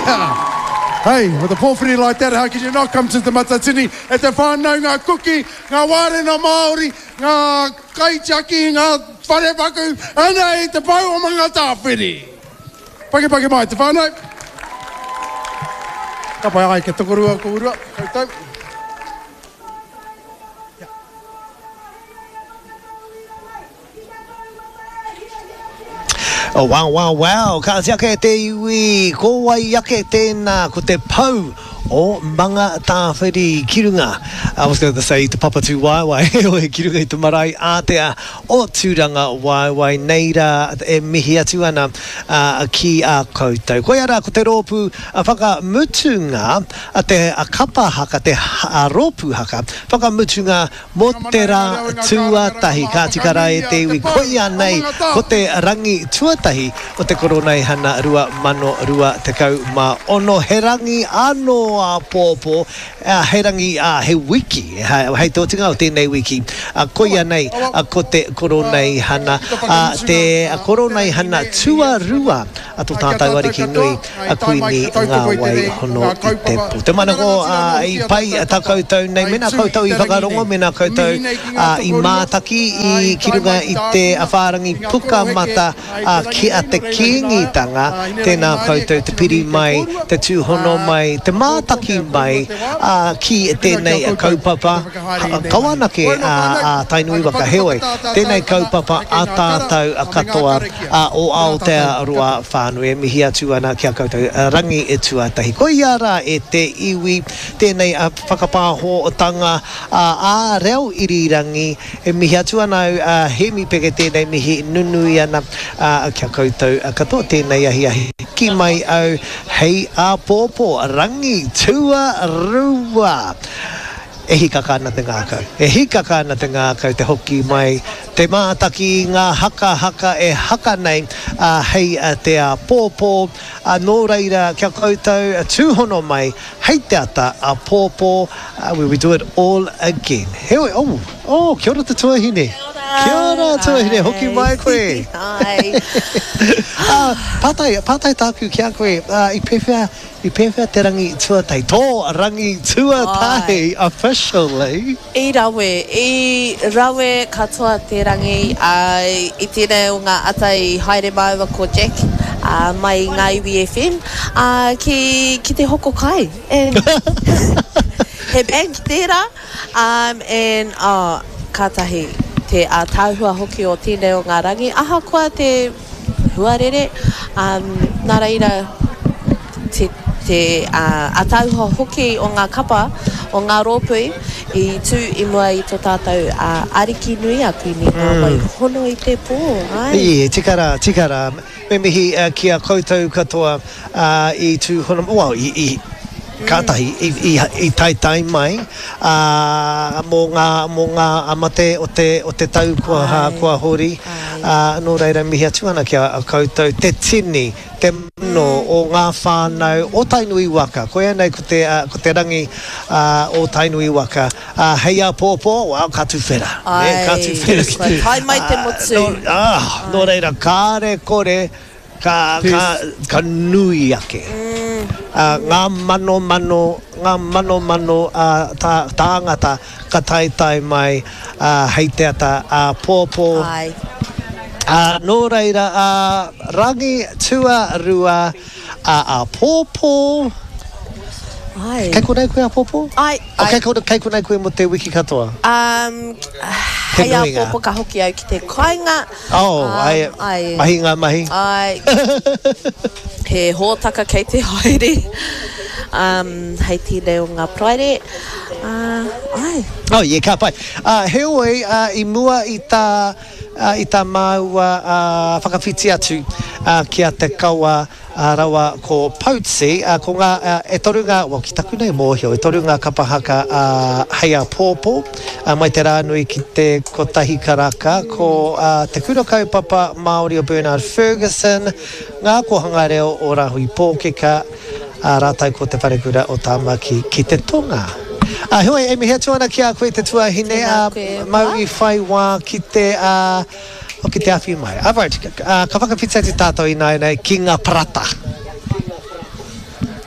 Yeah. Hey, with a pōwhiri like that, how could you not come to Te Matatini? E te whānau, ngā kuki, ngā wārena Māori, ngā kaitiaki, ngā wharepaku, anei te pou o Mangatāwhiri. Pakepake mai te whānau. Ka pai ai kia tokorua kōrua, koutou. Oh, wow, wow, wow. Kāti ake te iwi, ko wai ake tēnā, ko te pou o Mangatāwhiri ki runga. I was going to say te Papatū Waewae, heoi ki runga i te marae ātea o Tūranga Waewae. Nei rā e mihi atu ana ki a koutou. Koia rā ko te rōpū whakamutunga, te kapa haka, te rōpū haka whakamutunga Mō te rā tuatahi, ka tika rā e te iwi, koia nei ko te rangi tuatahi o te Koroneihana 2026. He rangi anō āpōpō, he rangi, ā, he wiki, hei te otinga o tēnei wiki, koia nei ko te Koroneihana, te Koroneihana tuarua a to tātou Ariki nui, a Kuini Ngā Wai Hono i te Po. Te manako i pai tā koutou nei, mēnā koutou i whakarongo, mēnā koutou i mātaki i ki runga i te whārangi pukamata ki a Te Kīngitanga, tēnā koutou te piri mai, te tūhono mai, te mātaki mai ki tēnei kaupapa, kaua anake a Tainui waka, heoi, tēnei kaupapa a tātou katoa. o Aotearoa whānui e mihi atu ana ki a koutou rangi tuatahi. Koia rā e te iwi tēnei whakapāhotanga ā reo irirangi e mihi atu ana au a Hemi Peke tēnei mihi nunui ana ki a koutou katoa tēnei ahiahi ki mai au hei āpōpō rangi tuarua. E hīkaka ana te ngākau. E hīkaka ana te ngākau te hoki mai, te mātaki i ngā haka haka e haka nei hei te āpōpō. Nō reira, kia koutou tūhono mai hei te ata āpōpō, where we do it all again. Heoi, oh, oh, kia ora te tuahine. Kia ora. Kia ora, tuahine, hoki mai koe. Hi. Pātai, pātai tāku ki a koe, i pēwhea, I pēwhea te rangi tuatahi? Tō rangi tuatahi officially. I rawe, i rawe katoa te rangi, ā, i tēnei o ngā ata i haere māua ko Jack, ā, mai i Ngā Iwi FM, ā, ki, ki te hoko kai. And he bank tērā, um, and, oh, kātahi te ātaahua hoki o tēnei o ngā rangi, ahakoa te huarere, ā, nā reira te, te ā, ātaahua hoki o ngā kapa, o ngā rōpū i tū i mua i tō tātou ā, Ariki nui a Kuini Ngā Wai Hono i te Pō, āe. Ī, tika rā, tika rā. Me mihi ki a koutou katoa i tūhono, well, i, i, kātahi, i, i, i taetae mai, ā, mō ngā, mō ngā mate o te, o te tau kua, kua hori, ā, nō reira mihi atu ana ki a koutou te tini, te mano o ngā whānau o Tainui waka. Koia nei ko te, ko te rangi, ā, o Tainui waka. Ā, hei āpōpō, well, ka tuwhera, nē, ka tuwhera ki te, Kua tae mai te motu. Nō, ā, nō reira, kāre kore, Ka, ka, ka nui ake. Ā, ngā manomano, ngā manomano ā, tā, tāngata ka taetae mai, ā, hei te ata āpōpō. Āe. Ā, nō reira, ā, rangi tuarua, ā, āpōpō. Āe. Kei konei koe āpōpō? Āe, āe. Kei konei, kei konei koe mō te wiki katoa? Um, hei āpōpō ka hoki au ki te kāinga. Oh, ai, ai. Mahi ngā mahi. Ai. He hōtaka kei te haere um, hei tēnei o ngā Paraire. Uh, ai. Oh, yeah, ka pai. Uh, heoi, uh, i mua i tā, uh, i tā māua uh, whakawhiti atu uh, ki a Te Kawa, Ā, rawa ko Poutsi, ā, ko ngā, ā, e toru ngā, well, ki taku nei mōhio, e toru ngā kapa haka, ā, hei āpōpō, ā, mai te rā nui ki te kotahi karaka, ko, ā, Te Kura Kaupapa Māori o Bernard Fergusson, Ngā Kōhanga Reo o Rāhui Pōkeka, ā, rātou ko Te Wharekura o Tāmaki ki te Tonga. Ā, heoi, e mihi atu ana ki a koe te tuahine, ā, mau i whai wā ki te, ā, Hoki te awhi mai. Alright, ka whakawhiti atu tātou ināianei ki ngā parata.